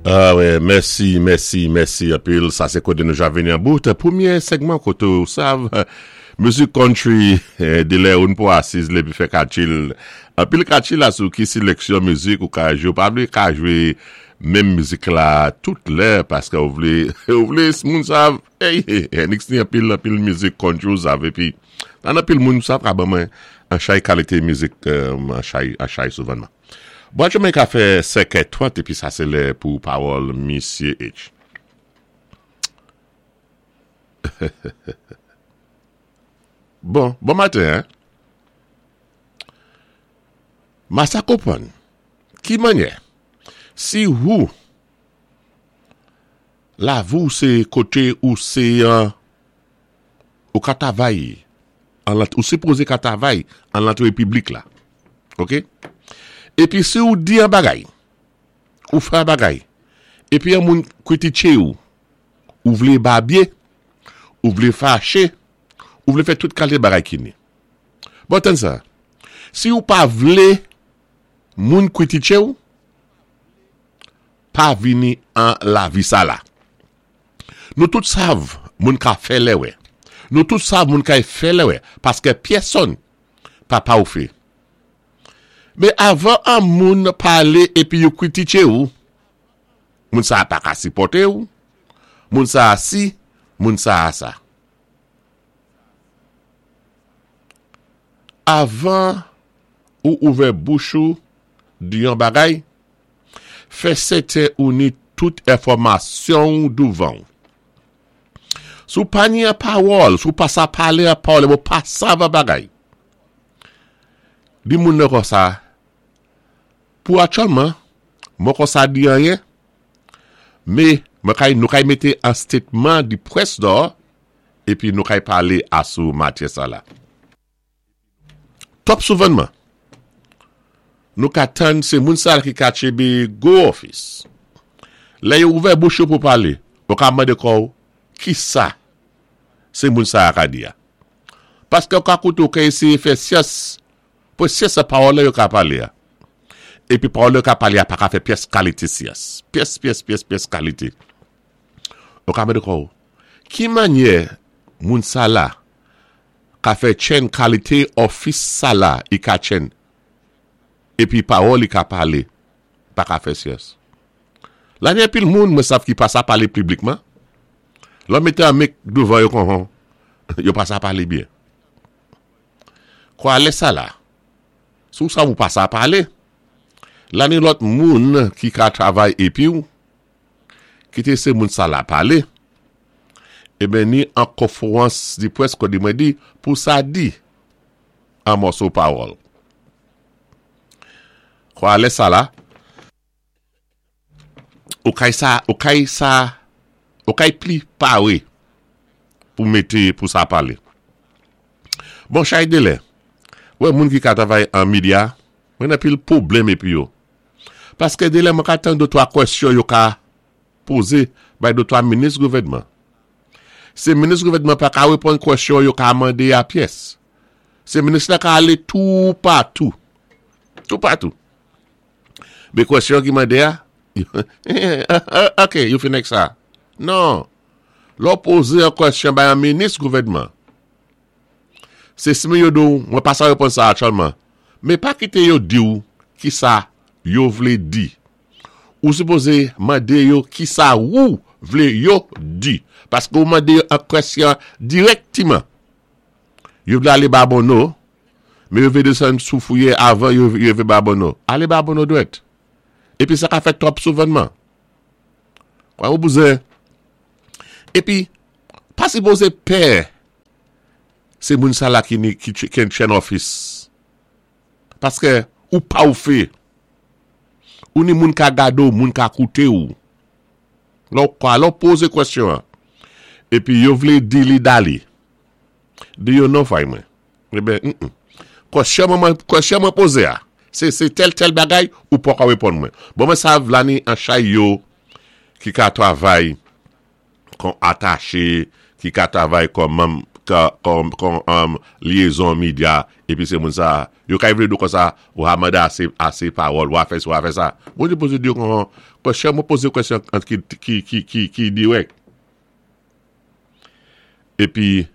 Ah wè, mèsi, mèsi, mèsi anpil. Sa sé koté nou ja vini an bout pwémyé sègman koté ou sav mizik country delè oun pou asiz lépi fè katchil. Anpil katchil asou ki sileksyon mizik ou ka jwé. Ou pa vlé ka jwé menm mizik la tout lè paskè ou vlé ou vlé moun sav ey Ernix ni anpil anpil mizik country ou sav épi nan anpil moun sav ka ban mwen an chay kalité mizik an chay an chay souvanman. Bwa Jamaica fè sèkè 30 epi sa se lè pou pawòl misye H. Bon, bon maten hein. Ma sa konprann ki manyè si wou lavi w se kote ou se an Ou ka tavay an lant ou sipoze ka tavay an lantre piblik la. Ok. Epi si ou di an bagay, ou fè an bagay, epi an moun kritiche ou, ou vle babye, ou vle fache, ou vle fè tout kalte bagay ki ni. Bon tann sa. Si ou pa vle moun kritiche ou, pa vini an lavi sa la. Nou tout sav moun ka fè lè wè. Nou tout sav moun kay fè lè wè paskè pyèsonn pa pawfe. Men avan an moun pale epi yo kritiche ou, moun sa a pa ka sipòte ou, moun sa a si, moun sa a sa. Avan ou ouvè bouch ou di yon bagay, Fè sèten ou ni tout enfòmasyon w douvan w. Si w pa ni an pawòl, si w pa sa pale an pawòl, epi w pa sav an bagay, di moun nan konsa, pou aktyèlman, mwen konsa di anyen, me mwen kay, nou kay mete an statement di près dò, epi nou kay pale asou matyè sa la. Twòp souvènman. Nou ka tann se moun sa ki ka tchebe gwo ofis. Lè yo ouvè bouch yo pou pale, ou ka mande kò w kisa se moun sa a ka di a. Paske ou ka koute ou ka eseye fè syans pou syans nan pawòl la yo ka pale a. Epi pawòl yo ka pale a pa ka fè pyès kalite syans. Pyès, pyès, pyès, pyès kalite. Ou ka mande kò w ki manyè moun sa la ka fè chen kalite òfis sa la i ka chen epi pawòl i ka pale pa ka fè syans la gen anpil moun mwen sav ki pa sa pale piblikman lè w mete an mik douvan yo kon yo pa sa pale byen kwa lè sa la si w sav ou pa sa pale la ni lòt moun ki ka travay epi w Kite se moun sa la pale. Eben ni an konfwans di pwès kodi mwen di pou sa di an mòso pawòl. Kwa lè sa la, ou kay sa, ou kay sa, ou kay pli pare pou mete pou sa pale. Bon chay de lè, wè moun ki ka travay an media, mwen nan pil pwoblèm epi yo. Paske delè mwen ka tann de 3 kwèsyon yo ka poze bay de 3 minis gouvènman. Se minis gouvènman pa ka reponn kwèsyon yo ka mande a pyès. Se minis la ka ale tou patou. Tou patou. Men kwèsyon ki mande a, ok, yo fin ak sa. Non. Lè w poze yon kwèsyon bay yon minis gouvènman, Se si yo di w mwen pa sa reponn sa aktyèlman. Men pa kite yo di w kisa yo vle di. Ou sipoze mande yo kisa wou vle yo di. Paske ou mande yo an kwèsyon dirèktiman. Yo vle ale Babonneau, men yo vle desann sou Fouye avan yo rive Babonneau. Ale Babonneau dwèt. Epi sa ka fèt twòp souvènman. Kwa ou bouzen. Epi, pa sipoze pè se moun sa la ki ni ki ken chen ofis. Paske ou pa ou fe. Ou ni moun ka gade ou, moun ka koute ou. Lè ou kwa, lè ou poze kwestyon an. Epi yo vle di li dali. Di yo non fay mwen. Eben, mm mm. Kwestyon mwen, kwestyon mwen poze a. Se, se tèl tèl bagay ou poko reponn mwen. Bon mwen sav la ni an chay yo ki ka travay kon atache, ki ka travay kon manm. Kòm lyezon medya epi se moun sa yo kay vlé di w konsa ou ha mande ase ase pawòl wa fè si wa fè sa Bondye poze di yo kon kwèsyon mwen poze kwèsyon ki ki ki ki dirèk epi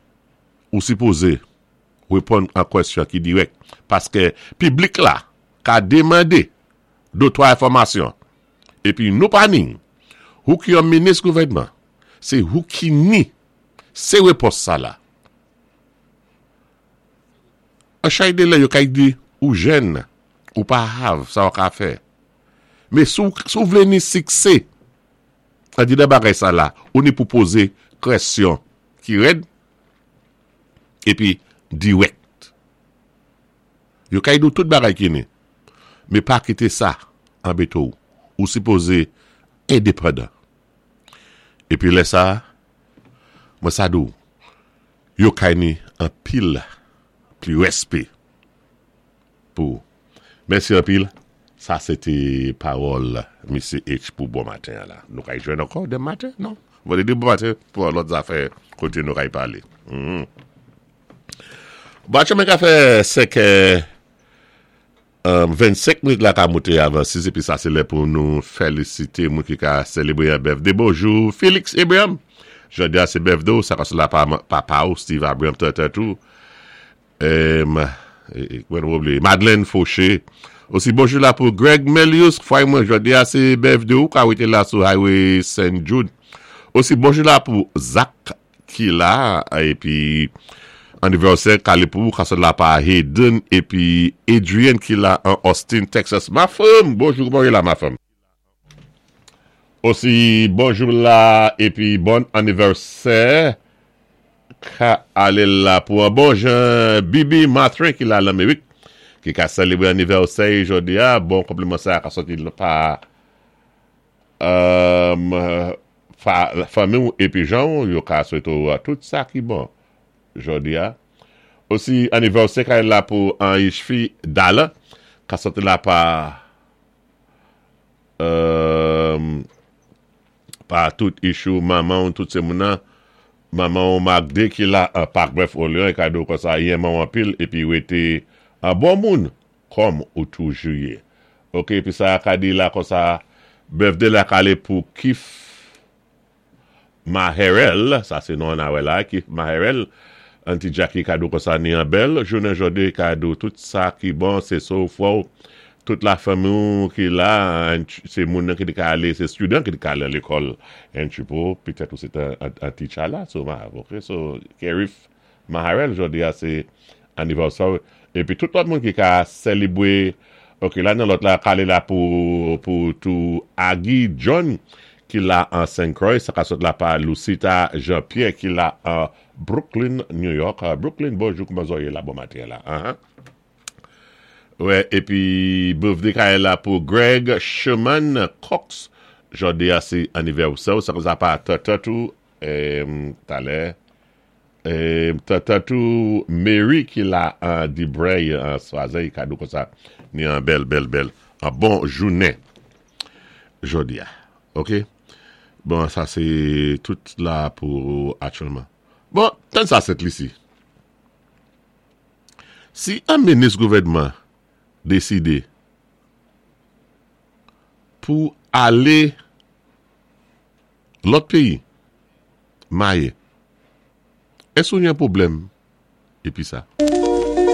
ou sipoze reponn an kwèsyon ki dirèk paske piblik la ka demande de twa enfòmasyon epi nou pa ni ou ki yon minis gouvènman se ou ki ni Se repons sa la. An chay de lè yo kay di ou jèn, ou pa hav sa ou ka fè. Men si w vle ni sikse an di nan bagay sa la, ou ni pou poze kresyon ki rèd epi dirèk. Yo kay di w tout bagay ki ni. Men pa kite sa anbete w. Ou sipoze endepandan. Epi lè sa a, mwen sa di w, yo kay ni anpil pli rèspé pou ou. Mèsi anpil, sa se te pawòl Mesye H pou bon maten an la. Nou kay jwenn ankò demen maten? Non? Vandredi bon maten pou yon lòt zafè kote nou kay pale. Bon, aktyèlman ka fè 5 è. 25 minit la ka moute avan 6 epi sa se lè pou nou felisite moun ki ka selebre yon bèfde bonjou Felix Abraham jodi a se bèfde w sa ka sou la pa papa w Steve Abraham tètèt ou mwen oubliye Madeleine Fauché osi bonjou la pou Greg Melius fway mwen jodi a se bèfde w ka wete la sou highway Saint Jude osi bonjou la pou Zach ki la epi anivèsè kale pou ou kasòl la pa Hayden epi Adrian ki la an Austin Texas ma fanm bonjou kouman ou ye la ma fanm osi bonjou la epi bòn anivèsè ka ale la pou an bon jan Bibi Mathurin ki la lanmerik ki ka selebre anivèsè jodi a bon konpliman sa ka sòti pa Fanmi w epi jan w yo ka swete w tout sa ki bon jodi a. Osi anivèsè kay la pou Anishfi Dala ka sòti la pa pa tout issue manman w tout se moun nan manman w Magde ki la an Pak Bèf Orleans e kado konsa yenman w anpil epi rete an bon moun Kòm ou toujou ye. Ok epi sa ka di la konsa birthday la kale pou kif maherel sa se non an na wè la kif maherel anti jacky kado konsa ni an bèl jounen jodi kado tout sa ki bon se so fò tout la fanmi w ki la se moun nan ki te ka ale se student ki te ka ale lekòl entry pou petèt ou se te an teacher la so ma ok so kerif Maharel jodi a se anivèsè w epi tout lòt moun ki ka selebre ok la nan lòt la kale la pou pou tou Aggie John ki la an Saint Croix sa ka sot la pa Lucita Jean Pierre ki la an Brooklyn New York Brooklyn bonjou kouman zò ye la bon maten la ahan wè epi birthday kale la pou Greg Sherman Cox jodi a se anivèsè w sa ka sa pa tètèt ou talè Tata tou Mary ki la an Dibrey an Swazey kado konsa ni an bèl bèl bèl an bon jounen jodi a ok bon sa se tout la pou aktyèlman bon tann sa Sent Lisi si an minis gouvènman deside pou ale Lòt peyi, maye. Èske ou gen pwoblèm epi sa?